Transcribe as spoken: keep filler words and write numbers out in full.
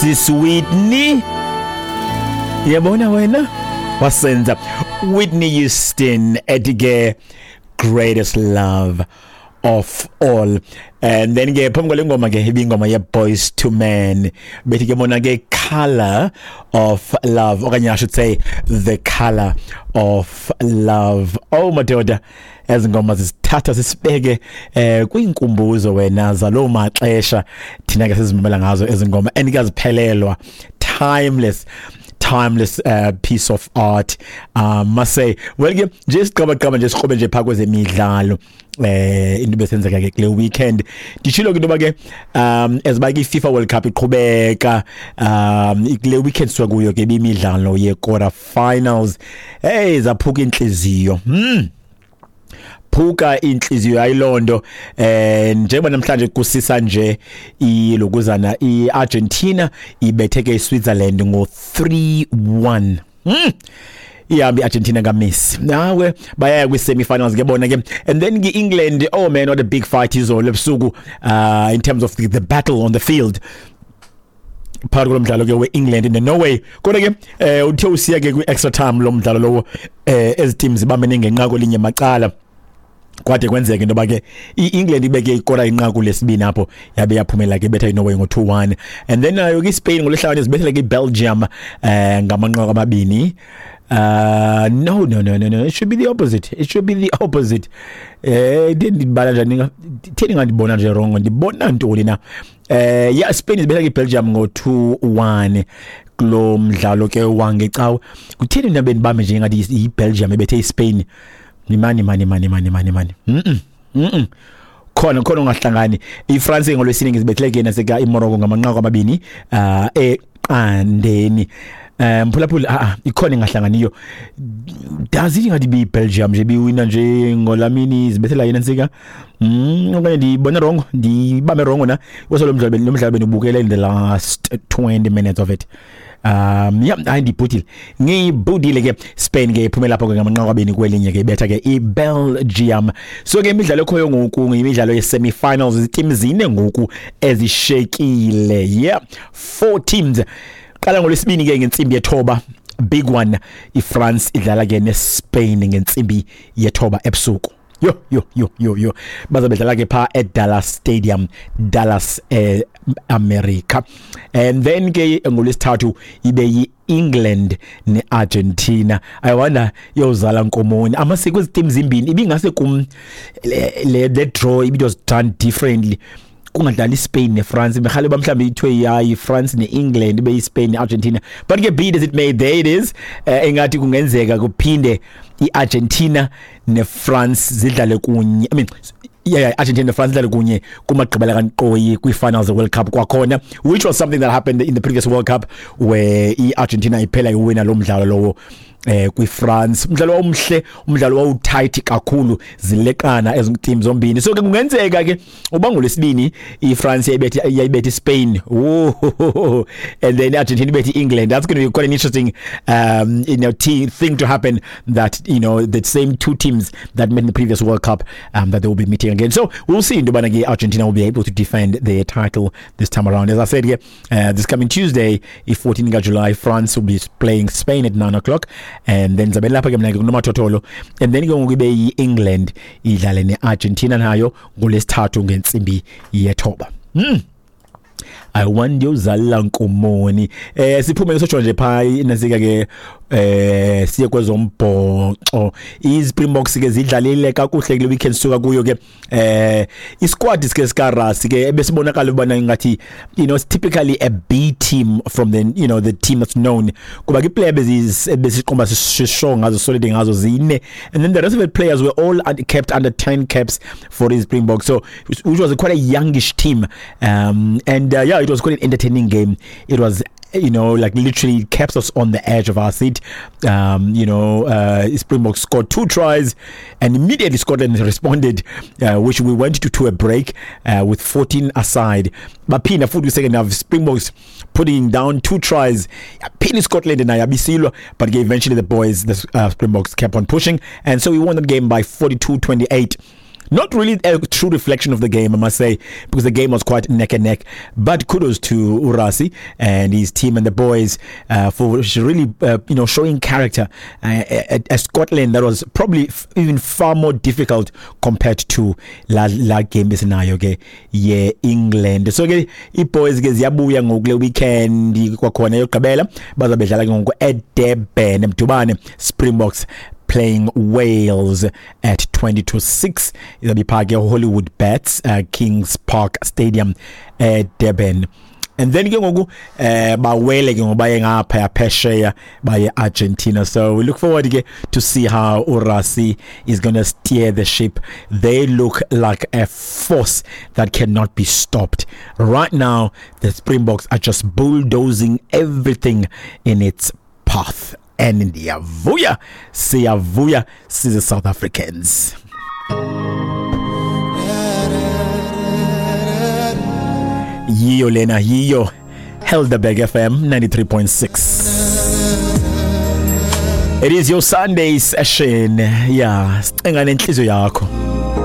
Sis Whitney, yabona wena wasenza. Whitney Houston ethi ke "Greatest Love of All". And then ke phambi kwale ngoma ke ibingoma ye Boyz two Men, bethi ke bona ke "Color of Love", okanye I should say "The Color of Love". Oh madoda, ezi ngoma zisithatha sisibeke eh kwinkumbuzo wena zalo maxesha thina ke sizimamela ngazo ezi ngoma, and kaziphelelwa, timeless, timeless uh, piece of art, um must say. Well ke nje siqaba nje siqobe nje phaka kwezemidlalo, eh into besenzeka ke kule weekend. Ndishilo ke into ke um eziba ke FIFA World Cup iqhubeka, um kule weekend suka kuyo ke imidlalo ye quarter finals. Hey, zaphuka inhliziyo, hmm phuka inhliziyo ayilondo. eh njengoba namhlanje kusisa nje ilokuzana iArgentina ibetheke iSwitzerland ngo three one. hmm ihambe iArgentina kaMessi, nawe bayaya kwi semi-finals ke bona ke. And then ke England, oh man, what a big fight izolo ebusuku uh in terms of the, the battle on the field phakathi kolomdlalo ke weEngland neNorway. Kodwa ke eh uthe usiya ke kwi-extra time lo mdlalo lowo, eh ezi teams zibambene ngenqaku linye macala, kwade kwenzeka into ke iEngland ibeke ikora inqaku lesibini apho, yabe yaphumela ke betha iNorway ngo two one. And then nayo ke iSpain ngolesihlanu izibethele ke iBelgium eh ngamanqaku amabini. Uh no no no no no it should be the opposite, it should be the opposite. Eh ndibala njani? Theni ngandibona nje wrong? Ndibona ntoni na? eh yeah Spain izibetha iBelgium ngo two one kulo mdlalo ke wangecawe. Kutheni nabe ndibambe nje ngathi iBelgium ebethe iSpain? Mani mani mani mani mani mani, mhm mhm khona khona ungahlangani. iFrance ngolwesine ngizibethele ke naseka iMorocco ngamanqaku amabini uh eqandeni. Um mphulaphula, ah ah, ikhona engahlanganiyo. Does it ngathi bi Belgium nje biwina nje ngolamini zibethela yena nsika? mm okanye ndibona wrong, ndibambe wrong na? Kwese lo mdlalo lo mdlalo benubukela in the last twenty minutes of it. um yeah hayi, ndibhudile, ngibhudile ke. Spain ke iphumela lapho ke ngamanqaku abini kwelinye ke, ibetha ke iBelgium. So ke imidlalo ekhoyo ngoku imidlalo ye semi-finals, iiteam zine ngoku ezishekile. Yeah, four teams. Qala ngolwesibini ke ngentsimbi yethoba, big one, iFrance idlala ke neSpain ngentsimbi yethoba ebusuku. Yo yo yo yo yo, bazabe bedlala ke pha eDallas Stadium, Dallas, eh America. And then ke ngolwesithathu ibe yiEngland neArgentina. I wonder yozala nkomoni amasiko ezi teams zimbini. Ibingase kum le, le the draw it was done differently, kungadlali iSpain neFrance, bekhale mhlawumbe ithiwe yayi France neEngland, ibe iSpain neArgentina. But ke be it as it may, there it is. uh, engathi kungenzeka kuphinde iArgentina neFrance zidlale kunye, I mean, yeah, yeah Argentina neFrance zidlale kunye kumagqibela kankqoyi kwi-finals of World Cup kwakhona, which was something that happened in the previous World Cup where iArgentina iphela iwina lo mdlalo lowo eh kwiFrance. Umdlalo omhle, umdlalo wawutight kakhulu, zileqana ezi teams zombini. So ke kungenzeka ke uba ngolwesibini iFrance yayibethe yayibethe iSpain, oh, and then Argentina ibethe England. That's going to be quite an interesting um you know thing to happen, that you know the same two teams that met in the previous World Cup, um that they will be meeting again. So we'll see into ke Argentina will be able to defend their title this time around. As I said here, uh, this coming Tuesday, i fourteen July, France will be playing Spain at nine o'clock, and then zabe lapha ke mina ke kunomathotholo. And then ke ngoku ibe yi-England idlale ne-Argentina nayo ngolwesithathu ngentsimbi yethoba. mm. I wonder uzala nkomoni. eh siphume sotsho nje pha inasika ke, eh siye kwezombhoxo. iSpringboks ke zidlalile kakuhle kule weekend suka kuyo ke. eh isquad sike sika Rassie ke ebesibonakala ubana ngathi you know it's typically a B team from the you know the team that's known, kuba ke player besiqomba sisho ngazo, solid ngazo zine, and then the rest of the players were all kept under ten caps for the Springboks, so which was a quite a youngish team. um and uh, yeah, it was quite an entertaining game. It was you know, like literally kept us on the edge of our seat. Um, you know, uh, Springboks scored two tries and immediately Scotland responded, uh, which we went to, to a break uh, with fourteen aside. Baphinda futhi second half, Springboks putting down two tries. Pini Scotland and Ayabisilwa, but eventually the boys, the uh, Springboks kept on pushing. And so we won the game by forty-two twenty-eight. Not really a true reflection of the game, I must say, because the game was quite neck and neck. But kudos to uRassie and his team and the boys uh, for really, uh, you know, showing character. Uh, a, a Scotland that was probably f- even far more difficult compared to la, la game esinayo ke ye England. So ke i-boys ke ziyabuya ngokule weekend kwakhona yogqibela, bazabe bedlala ke ngoku eDurban, Mdubane, Springboks playing Wales at twenty to six. Izabe phaa ke Hollywood Bets, uh, Kings Park Stadium eDurban. And then ke ngoku eh bawele ke ngoba baye ngapha phesheya, baye Argentina. So we look forward ke to see how uRassie is going to steer the ship. They look like a force that cannot be stopped right now. The Springboks are just bulldozing everything in its path, and ndiyavuya, siyavuya size South Africans. Yiyo lena, yiyo Helderberg F M ninety-three point six. It is your Sunday session. Yeah, sicenga nenhliziyo yakho.